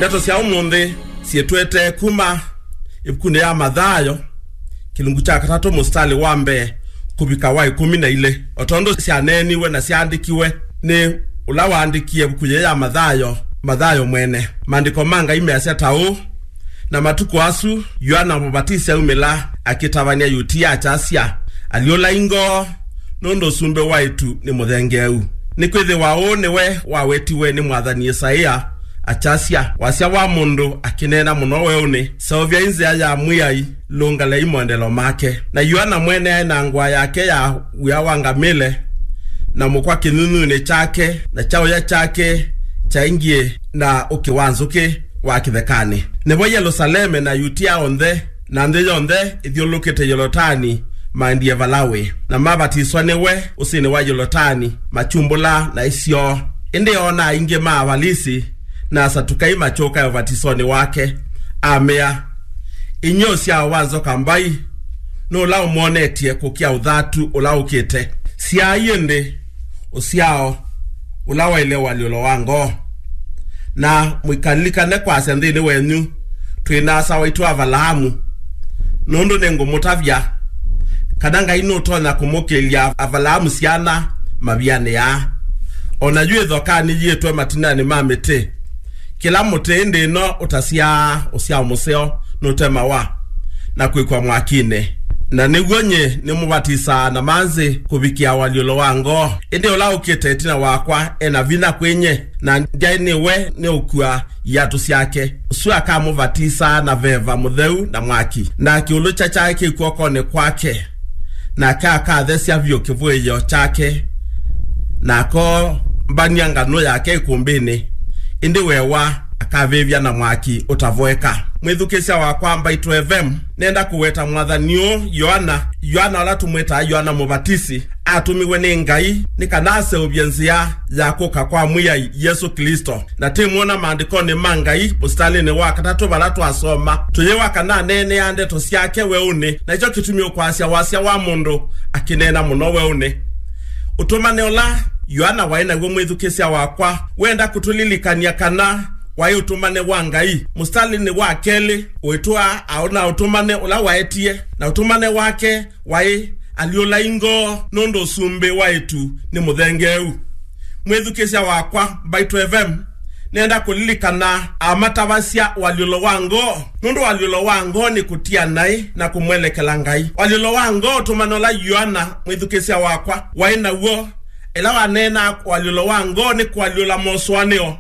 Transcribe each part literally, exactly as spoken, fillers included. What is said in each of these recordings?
Ndeto sya ũmũnthĩ syĩtwete kuma ĩvukunĩ ya Mathayo, kĩlungu kya katatũ, mũsitalĩ wa mbee kũvika wa ĩkũmi na ilĩ. O tondũ syaneeniwe na syaandĩkiwe nĩ ũla waandĩkie ĩvuku yĩĩ ya Mathayo, Mathayo mwene, maandĩko ma Ngai measya ta ũũ: Na matukũ asu, Yoana Mũvatisi aumĩla, akĩtavany'a Yutia, akyasya, 'Alyũlai ngoo, nũndũ ũsumbĩ wa ĩtu nĩ mũthengeeu.' Nĩkwĩthĩwa ũũ nĩwe wawetiwe nĩ mwathani Isaia, akyasya, 'Wasya wa mũndũ akĩneena mũno weũnĩ, seũvyai nzĩa ya Mwĩai, lũngalei moendelo make.' Na Yoana mwene aĩ na ngũa yake ya wia wa ngamĩle, na mũkwa kĩnyunyunĩ kyake, na kyaũya kyake kyaingie na ũkĩ wa nzũkĩ wa kĩthekanĩ. Nĩvo Yelusaleme na Yutia onthe na nthĩ yonthe ĩthyũlũlũkĩte Yolotani maendie vala wĩ, na mavatiswa nĩwe ũsĩnĩ wa Yolotani, makyumbũla na isyoo. Ĩndĩ oona aingĩ ma Avalisi na Asatukai makyũka ũvatisonĩ wake, amea, "Inyw'ĩ ũsyao wa nzoka mbai, nũũ ũla ũmwonetye kũkĩa ũthatu ũla ũkĩte? Syaai ĩndĩ ũsyao ũla waĩle ũalyũlo wa ngoo. Na mũikalilikane kwasya nthĩnĩ wenyu twĩ na asa waitũ Avalaamu, nũndũ nĩngũmũtavya kana Ngai nũtonya kũmũkĩlya Avalaamu syana mavianĩ aa. O na yu ĩthoka nĩyiĩtwe matinanĩ ma mĩtĩ. Kĩla mũtĩ ĩndĩ ĩno ũtasyaa ũsyao mũseo nũtemawa na kwĩkwa mwakinĩ. Na nĩw'o nyie nĩmũvatisaa na manzĩ kũvikĩa ũalyũlo wa ngoo. Ĩndĩ ũla ũkĩte ĩtina wakwa e na vinya kwĩ nyie, na ndyaĩ nĩwe nĩũkua iatũ syake. Ũsu akamũvatisaa na veva mũtheu na mwaki, na kĩũlũkya kyake kĩ kw'okonĩ kwake, nake akathesya vyũ kĩvũĩo kyake, na akombany'a nganũ yake ĩkũmbĩnĩ, ĩndĩ wewa akavĩvya na mwaki ũtavoeka." Mwĩthukĩĩsya wakwa, Mbaitũ F M, nenda kũweta mwathani ũũ, Yoana. Yoana, ũla tũmwĩtaa Yoana Mũvatisi, atũmiwe nĩ Ngai nĩ kana aseũvye nzĩa ya kũka kwa Mwĩai Yesũ Klĩsto. Na twĩmwona maandĩkonĩ ma Ngai, mũsitalĩnĩ wa katatũ vala twasoma, tũyĩwa kana aneeneaa ndeto syake weũnĩ, na nĩkyo kĩtumi ũkwasya wasya wa mũndũ akĩneena mũno weũnĩ. Ũtũmane ũla Yoana waĩ naw'o, mwĩthukĩĩsya wakwa, wenda kũtũlilikany'a kana waĩ ũtũmane wa Ngai. Mũsitalĩnĩ wa kelĩ ũitũa aona ũtũmane ũla waetie, na ũtũmane wake waĩ, "Alyũlai ngoo, nũndũ ũsumbĩ wa ĩtu nĩ mũthengeeu." Mwĩthukĩĩsya wakwa, Mbaitũ F M, nenda kũlilikana amatavasya ũalyũlo wa ngoo, nũndũ ũalyũlo wa ngoo nĩ kũtia naĩ na kũmwelekela Ngai. Ũalyũlo wa ngoo, ũtũmane ũla Yoana, mwĩthukĩĩsya wakwa, waĩ naw'o ĩla waneenaa ũalyũlo wa ngoo nĩ kũalyũla mosũanĩo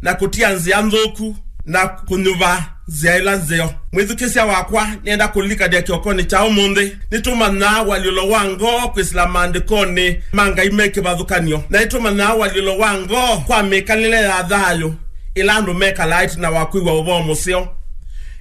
na kũtia nzĩa nthũku na kũnyuva nzĩa ĩla nzeo. Mwĩthukĩĩsya wakwa, nĩenda kũlilikany'a kĩokonĩ kya ũmũnthĩ, nĩtũmanyaa ũalyũlo wa ngoo kwĩsĩla maandĩkonĩ ma Ngai me kĩvathũkany'o, na nĩtũmanyaa ũalyũlo wa ngoo kwa mĩkalĩle ya thayũ ĩla andũ mekalaa ĩtina wa kwĩw'a ũvoo mũseo.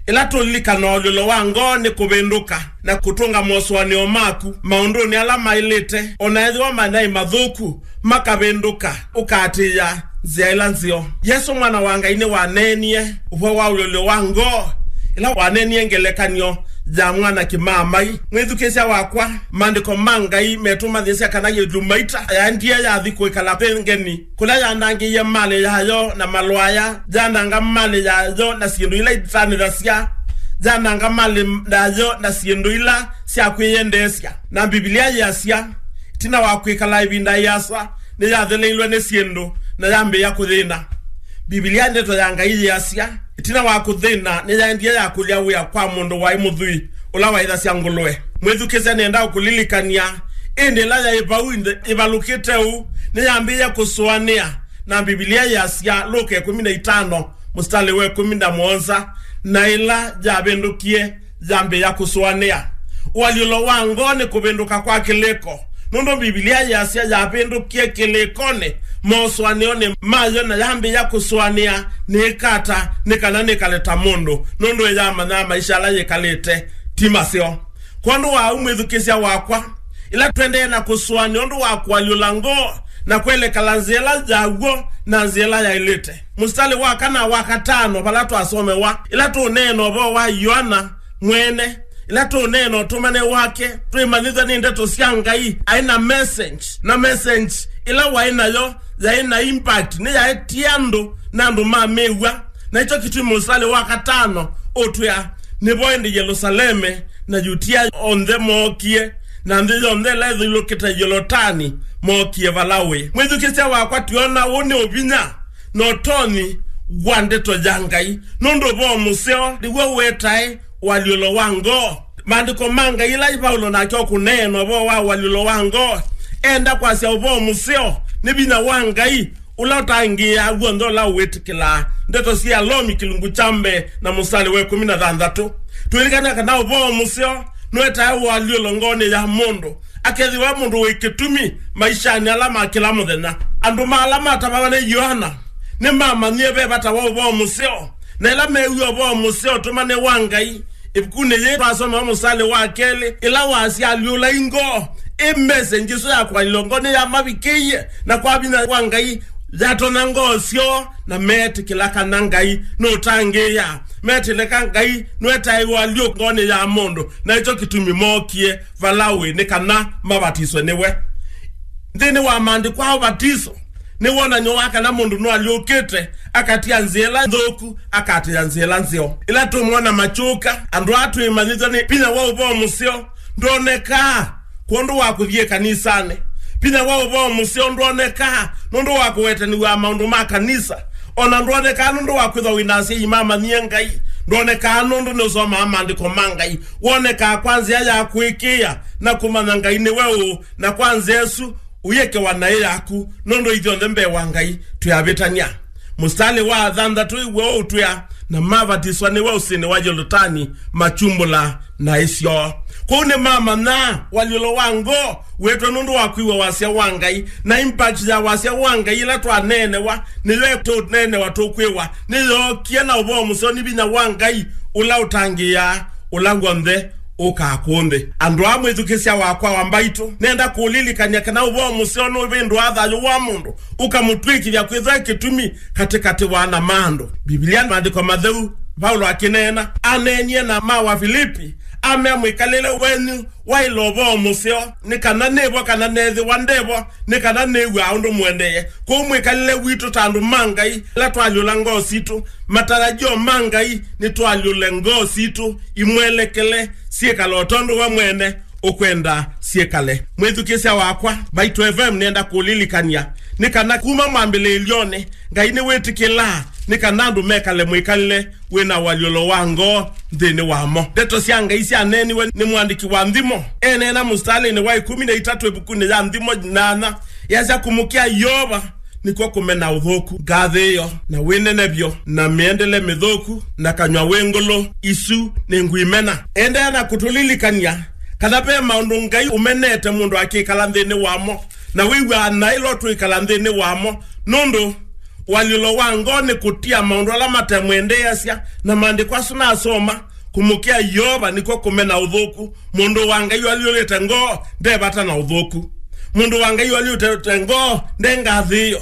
Ĩla tũlilikana ũalyũlo wa ngoo nĩ kũvĩndũka na kũtũnga mosũanĩo maku maũndũnĩ ala maĩlĩte, o na ethĩwa manaĩ mathũku, makavĩndũka, ũkaatĩĩa nzĩa ĩla nzeo. Yesũ Mwana wa Ngai nĩwaneenie ũvoo wa ũalyũlo wa ngoo ĩla waneenie ngelekany'o ya mwana kĩmaamai. Mwĩthukĩĩsya wakwa, maandĩko ma Ngai metũmanyĩsya kana yĩlumaita yaendie yathi kwĩkala kwĩ ngeni, kũla yanangĩie malĩ yayo na malwaya, yananga malĩ yayo na syĩndũ ila itanĩthasya, yananga malĩ yayo na syĩndũ ila sya kwĩyendeesya. Na Mbivilia yĩasya, ĩtina wa kwĩkala ĩvinda ĩasa, nĩyatheleilwe nĩ syĩndũ na yambĩĩa kũthĩna. Mbivilia, ndeto ya Ngai, yĩasya, ĩtina wa kũthĩna, nĩyaendie yakũlya wĩa kwa mũndũ waĩ mũthwii ũla waĩthasya ngũlũe. Mwĩthukĩĩsya, nĩenda ũkũlilikany'a, ĩndĩ ĩla yaĩ vau nthĩ ĩvalũkĩte ũu, nĩyambĩĩe kũsũanĩa. Na Mbivilia yĩasya, Luka ĩkũmi na itano, mũsitalĩ wa ĩkũmi na mũonza, "Na ĩla yavĩndũkie, yambĩĩa kũsũanĩa." Ũalyũlo wa ngoo nĩ kũvĩndũka kwa kĩlĩko, nũndũ Mbivilia yĩasya yavĩndũkie kĩlĩkonĩ, mosũanĩonĩ mayo, na yambĩĩa kũsũanĩa, "Nĩĩka ata nĩ kana nĩkale ta mũndũ?" Nũndũ ĩyamanyaa maisha ala yĩkalĩte ti maseo. Kwondũ wa ũu, mwĩthukĩĩsya wakwa, ĩla tũendee na kũsũanĩa ũndũ wa kũalyũla ngoo na kwelekela nzĩa ĩla yaw'o na nzĩa ĩla yaĩlĩte. Mũsitalĩ wa kana wa katano vala twasomewa, ĩla tũũneena ũvoo wa Yoana mwene, ĩla tũũneena ũtũmane wake, twĩmanyĩthya nĩ ndeto sya Ngai, aĩ na message, na message ĩla waĩ nayo yaĩ na impact, nĩyaetie andũ na andũ mamĩw'a. Na ĩkyo kĩtumi mũsalĩ wa katano ũtwĩa, nĩvo ĩndĩ Yelusaleme na Yutia onthe mookie, na nthĩ yonthe ĩla ĩthyũlũkĩte Yolotani mookie vala ũĩ. Mwĩthukĩĩsya wakwa, twĩona ũũ nĩ ũvinya na ũtonyi wa ndeto ya Ngai, nũndũ ũvoo mũseo nĩw'o wetae ũalyũlo wa ngoo. Maandĩko ma Ngai ĩla Vaulo nake ũkũneena ũvoo wa ũalyũlo wa ngoo, enda kwasya ũvoo mũseo nĩ vinya wa Ngai ũla ũtangĩĩaa w'onthe ũla ũwĩtĩkĩlaa. Ndeto sya Alomi kĩlungu kya mbee na mũsalĩ wa ĩkũmi na thanthatũ. Twĩlikana kana ũvoo mũseo nũetae ũalyũlo ngoonĩ ya mũndũ, akethĩwa mũndũ wĩ kĩtumi maishanĩ ala ma kĩla mũthenya. Andũ ma ala matavawa nĩ Yoana nĩmamanyie ve vata wa ũvoo mũseo, na ĩla meew'a ũvoo mũseo ũtũmane wa Ngai. Ĩvukunĩ yĩĩ twasoma mũsalĩ wa kelĩ, ĩla wasya alyũlai ngoo, ĩ message ĩsu ya kũalyũla ngoo nĩyamavikĩie, na kwa vinya wa Ngai yatonya ngoo syoo, na meetĩkĩla kana Ngai nũtangĩĩaa, meetĩkĩla Ngai nũetae ũalyũlo ngoonĩ ya mũndũ, na ĩkyo kĩtumi mookie vala ũĩ nĩ kana mavatiswe nĩwe. Nthĩnĩ wa maandĩko a ũvatiso, nĩ wonany'o wa kana mũndũ nũalyũkĩte akatia nzĩa ĩla nthũku, akatĩĩa nzĩa ĩla nzeo. Ĩla tũmwona makyũka, andũ aa twĩmanyĩthya nĩ vinya wa ũvoo mũseo ndwonekaa kwondũ wa kũthiĩ kanisanĩ. Vinya wa ũvoo mũseo ndwonekaa nũndũ wa kũwetanĩw'a maũndũ ma kanisa. O na ndwonekaa nũndũ wa kwĩthwa wĩ na asyai mamanyie Ngai. Ndwonekaa nũndũ nĩũsomaa maandĩko ma Ngai. Wonekaa kwa nzĩa ya kũĩkĩĩa na kũmanya Ngai nĩwe ũũ, na kwa nzĩa ĩsu ũyĩkewa naĩ yaku, nũndũ ithyonthe mbee wa Ngai twĩ avĩtany'a. Mũsalĩ wa thanthatũ ĩw'o ũtwĩa, na mavatiswa nĩwe ũsĩnĩ wa Yolotani, makyumbũla naĩ syoo. Kwoou nĩmamanya ũalyũlo wa ngoo wĩtwe nũndũ wa kwĩw'a wasya wa Ngai, na impact ya wasya wa Ngai ĩla twaneenewa nĩyo tũneenewa tũkwĩwa nĩyookie na ũvoo mũseo nĩ vinya wa Ngai ũla ũtangĩĩaa ũla w'onthe ũkaa kũũ nthĩ. Andũ aa mwĩthukĩĩsya wakwa wa mbaitũ, nenda kũlilikany'a kana ũvoo mũseo nũvĩndũaa thayũ wa mũndũ, ũkamũtw'ĩkĩthya kwĩthwa kĩtumi katĩkatĩ wa ana ma andũ. Mbivilia, maandĩko matheu, Vaulo akĩneena, aneenie na ma Wavilipi, amea mwĩkalĩle wenyu waĩle ũvoo mũseo, nĩ kana nĩvo kana neethĩwa ndevo, nĩ kana nĩw'aa ũndũ mũendee. Kwoou mwĩkalĩle witũ ta andũ ma Ngai, ĩla twalyũla ngoo sitũ, matarajio ma Ngai nĩ twalyũle ngoo sitũ imwelekele syĩkale o tondũ we mwene ũkwenda syĩkale. Mwĩthukĩĩsya wakwa, Mbaitũ F M nĩenda kũlilikany'a nĩ kana kuma mwambĩlĩĩlyonĩ, Ngai nĩwĩtĩkĩlaa nĩ kana andũ mekale mwĩkalĩle wĩ na ũalyũlo wa ngoo nthĩnĩ wamo. Ndeto sya Ngai syaneeniwe nĩ mũandĩki wa nthimo. Eneena mũsitalĩnĩ wa ĩkũmi na itatũ ĩvukunĩ ya Nthimo nyanya, yasya, kũmũkĩa Yeova nĩkw'o kũmena ũthũku, ngathĩĩo, na wĩnenevyo, na mĩendele mĩthũku, na kanyw'a wĩ ngũlũ, isu nĩ ngũimena. Endeea na kũtũlilikany'a kana ve maũndũ Ngai ũmenete mũndũ akĩkala nthĩnĩ wamo, na wĩw'aa naĩ ĩla twĩkala nthĩnĩ wamo, nũndũ ũalyũlo wa ngoo nĩ kũtia maũndũ ala matemwendeeasya, na maandĩko asu nasoma, kũmũkĩa Yeova nĩkw'o kũmena ũthũku. Mũndũ wa Ngai ũalyũlĩte ngoo nde vata na ũthũku. Mũndũ wa Ngai ũalyũlĩte ngoo nde ngathĩĩo,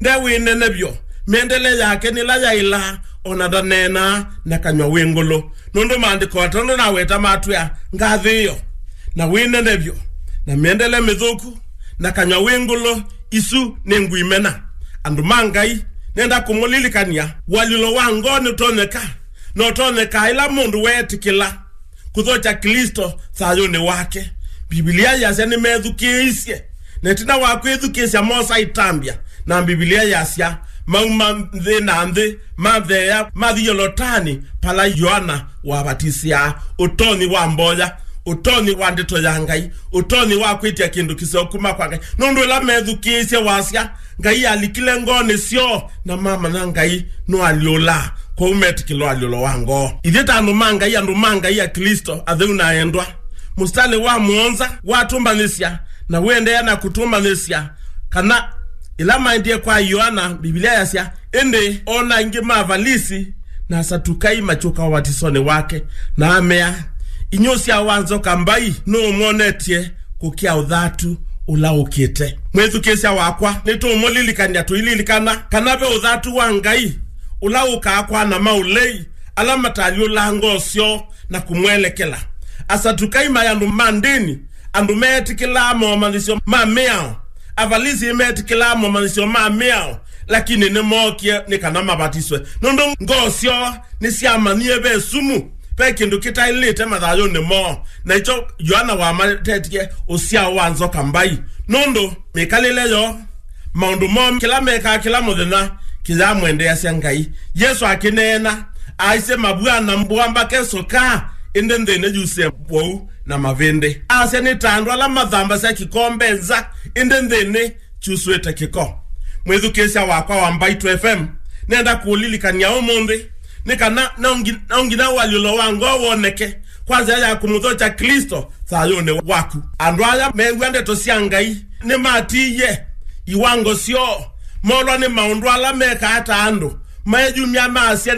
nde wĩnenevyo. Mĩendele yake nĩ ĩla yaĩlaa, o na ndaneenaa na kanyw'a wĩ ngũlũ. Nũndũ maandĩko atano naweta matwĩa, ngathĩĩo, na wĩnenevyo, na mĩendele mĩthũku, na kanyw'a wĩ ngũlũ, isu nĩ ngũimena. Andũ ma Ngai, nenda kũmũlilikany'a, ũalyũlo wa ngoo nĩũtonyeka, na ũtonyekaa ĩla mũndũ weetĩkĩla kũthokya Klĩsto thayũnĩ wake. Mbivilia yasya nĩmethukĩĩisye, na ĩtina wa kwĩthukĩĩsya moosa ĩtambya, na Mbivilia yasya mauma nthĩ na nthĩ, matheea, mathi Yolotani, vala Yoana wavatisĩaa. Ũtonyi wa mboya, ũtonyi wa ndeto ya Ngai, ũtonyi wa kwĩtya kĩndũ kĩseo kuma kwa Ngai. Nũndũ ĩla methukĩĩisye wasya, Ngai alikile ngoonĩ syoo, na mamanya Ngai nũalyũlaa, kwoou metĩkĩla ũalyũlo wa ngoo. Ithyĩ ta andũ ma Ngai, andũ ma Ngai Aklĩsto atheu na endwa, mũsitalĩ wa mũonza watũmbanĩsya na wĩendeea na kũtũmbanĩsya kana ĩla maendie kwa Yoana, Mbivilia yasya, ĩndĩ o na aingĩ ma Avalisi na Asatukai makyũka ũvatisonĩ wake, na amea, inyw'ĩ ũsyao wa nzoka mbai, nũũ ũmwonetye kũkĩa ũthatu ũla ũkĩte? Mwĩthukĩĩsya wakwa, nĩtũũmũlilikany'a tũililikana kana ve ũthatu wa Ngai ũla ũkaa kwa ana ma ũlei ala matalyũlaa ngoo syoo na kũmwelekela. Asatukai maĩ andũ ma ndĩni, andũ meetĩkĩlaa momanyĩsyo ma mĩao. Avalisi nĩmeetĩkĩlaa momanyĩsyo ma mĩao, lakini nĩmookie nĩ kana mavatiswe, nũndũ ngoo syoo nĩsyamanyie ve sumu, ve kĩndũ kĩtaĩlĩte mathayũnĩ moo, na ĩkyo Yoana wamatetye ũsyao wa nzoka mbai, nũndũ mĩkalĩle yoo, maũndũ moo kĩla mekaa kĩla mũthenya kĩyamwendeeasya Ngai. Yesũ akĩneena, aisye mavw'a na mbũa mbake sũkaa, ĩndĩ nthĩnĩ yusĩe wou na mavĩndĩ. Asya nĩ ta andũ ala mathambasya kĩkombe nza, ĩndĩ nthĩnĩ kyusũĩte kĩko. Mwĩthukĩĩsya wakwa wa Mbaitũ F M, nenda kũũlilikany'a ũmũnthĩ nĩ kana no ngi-, no nginya ũalyũlo wa ngoo woneke kwa nzĩa ya kũmũthokya Klĩsto thayũnĩ waku. Andũ aya meew'a ndeto sya Ngai nĩmatiie iwango syoo, molwa nĩ maũndũ ala mekaa ta andũ, meeyumya maasya nĩ